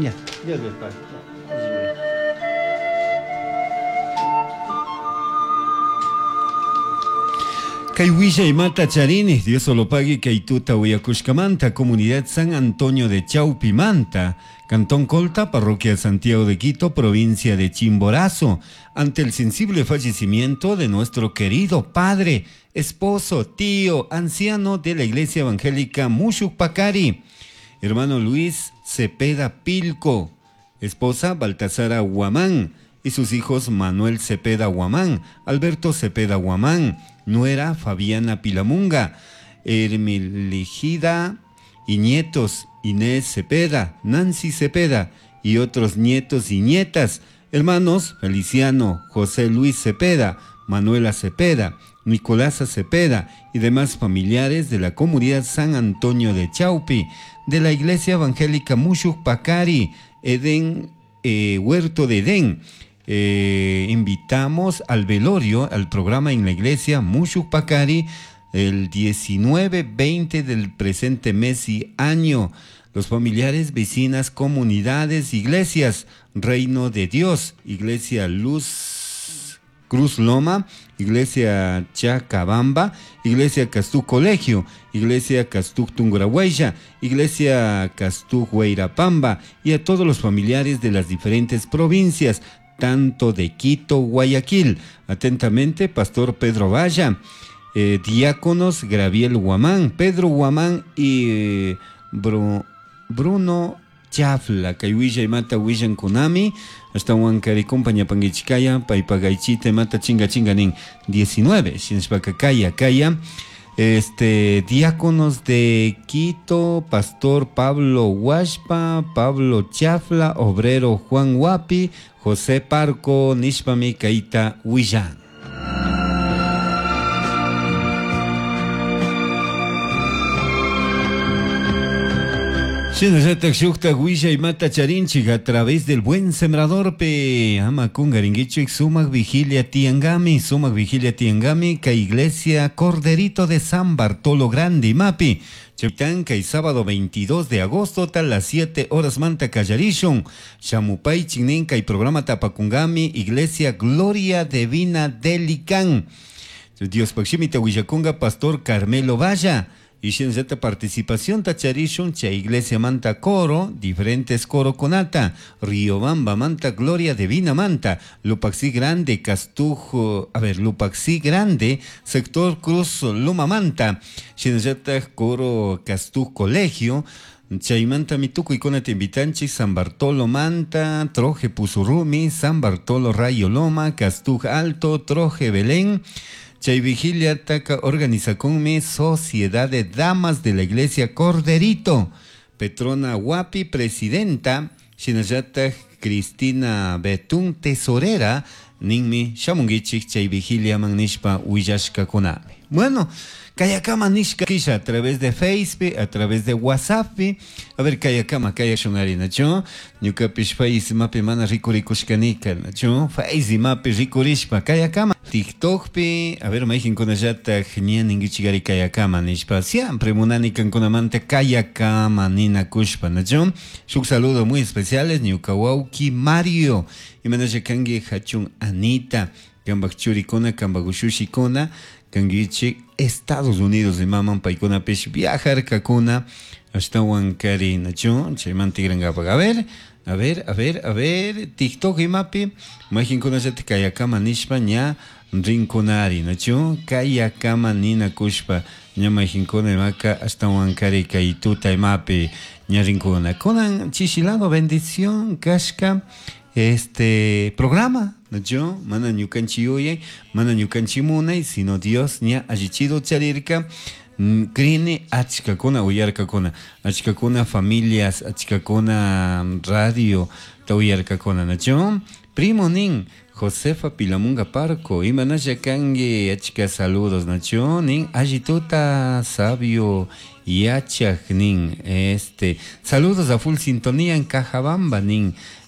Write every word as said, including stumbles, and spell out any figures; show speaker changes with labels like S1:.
S1: Ya, Dios les pague. Kay mata charini, Dios solo pague kay tuta uyakushkamanta, Comunidad San Antonio de Chaupimanta, Cantón Colta, Parroquia Santiago de Quito, provincia de Chimborazo, ante el sensible fallecimiento de nuestro querido padre, esposo, tío, anciano de la Iglesia Evangélica Mushuk-Pacari, hermano Luis Cepeda Pilco, esposa Baltasara Huamán, y sus hijos Manuel Cepeda Huamán, Alberto Cepeda Huamán, nuera Fabiana Pilamunga, Hermiligida y nietos Inés Cepeda, Nancy Cepeda y otros nietos y nietas, hermanos Feliciano, José Luis Cepeda, Manuela Cepeda, Nicolasa Cepeda y demás familiares de la comunidad San Antonio de Chaupi, de la Iglesia Evangélica Mushuk Pacari, Edén, eh, Huerto de Edén. Eh, invitamos al velorio, al programa en la iglesia Mushuk Pacari, el diecinueve, veinte del presente mes y año. Los familiares, vecinas, comunidades, iglesias, Reino de Dios, Iglesia Luz Cruz Loma, Iglesia Chacabamba, Iglesia Castú Colegio, Iglesia Castú Tungurahuaya, Iglesia Castú Huayrapamba y a todos los familiares de las diferentes provincias, tanto de Quito, Guayaquil. Atentamente, Pastor Pedro Valla, eh, diáconos Graviel Huamán, Pedro Huamán y eh, Bru, Bruno Chafla, kay willa imata willan kunami, hasta huancari compañía panguichicaya, paipagaichite mata chinga chinga nin diecinueve, shinshpacacaya, caya, este, diáconos de Quito, Pastor Pablo Huashpa, Pablo Chafla, Obrero Juan Huapi, José Parco, Nishpami, Kaita Huillán. Mata charinchik a través del buen sembrador pe ama kungaringuichik sumak vigilia tiangami, sumak vigilia tiangami ka iglesia Corderito de San Bartolo Grande Mapi. Cheptanca y sábado veintidós de agosto tal las siete horas manta callarishon Chamupay Chinenca y programa Tapacungami Iglesia Gloria Divina de Licán. Dios Paximita Huillaconga Pastor Carmelo Valla. Y shinzeta participación tacharishun cha iglesia manta coro, diferentes coro conata, Riobamba manta Gloria Divina manta, Lupaxi Grande, Castujo, a ver, Lupaxi Grande, sector Cruz Luma manta, shinzeta coro Castuj Colegio, Chaymanta mituku ikona te invitanchi, San Bartolo Manta, Troje Pusurumi, San Bartolo Rayo Loma, Castuj Alto, Troje Belén. Chay Vigilia Taca organiza con mi Sociedad de Damas de la Iglesia Corderito. Petrona Huapi, presidenta. Shinayata Cristina Betún, tesorera. Ninmi Shamungichik Chay Vigilia Magnishpa Huillashka Konami. Bueno, Kayakama Nishka Kisha a través de Facebook, a través de WhatsApp. A ver, Kayakama, Kayashunari, Nacho. Ñukapish Face Mapi Mana Rikurikushkanika, Nacho. Face Mapi Rikurishpa, Kayakama. TikTok pi, a ver, maijin kunallata ña ninguichigari Kayakama nishpa. Siempre munani kankunamanta Kayakama nina kushpa, Nacho. Shuk saludo muy especiales, ñukawauki Mario. Y manashakangi hachun Anita, kambak churikuna, kambak ushushikuna, kangichi Estados Unidos de maman paikuna pish viajar kakuna hasta Huancari nacho chayman tigrangapaq. A ver, a ver, a ver, a ver, TikTok imapi majinkuna llati kayakama nishpa ña rinkunari nacho kayakama nina kushpa ña majinkuna imaka hasta Huancari kay tuta imapi ña rinkuna. Kunan chishilado bendición kashka este programa, yo mana ñukanchi yuyay, mana ñukanchi munay, sino Dios ña allichido charirka, krini achkakuna uyarkakuna, achkakuna familias, achkakuna radio ta uyarkakuna, nacho primo nin Josefa Pilamunga Parco, imanalla kangi achka saludos, nacho nin allituta sabio yachaj nin este saludos a full sintonía en Cajabamba nin.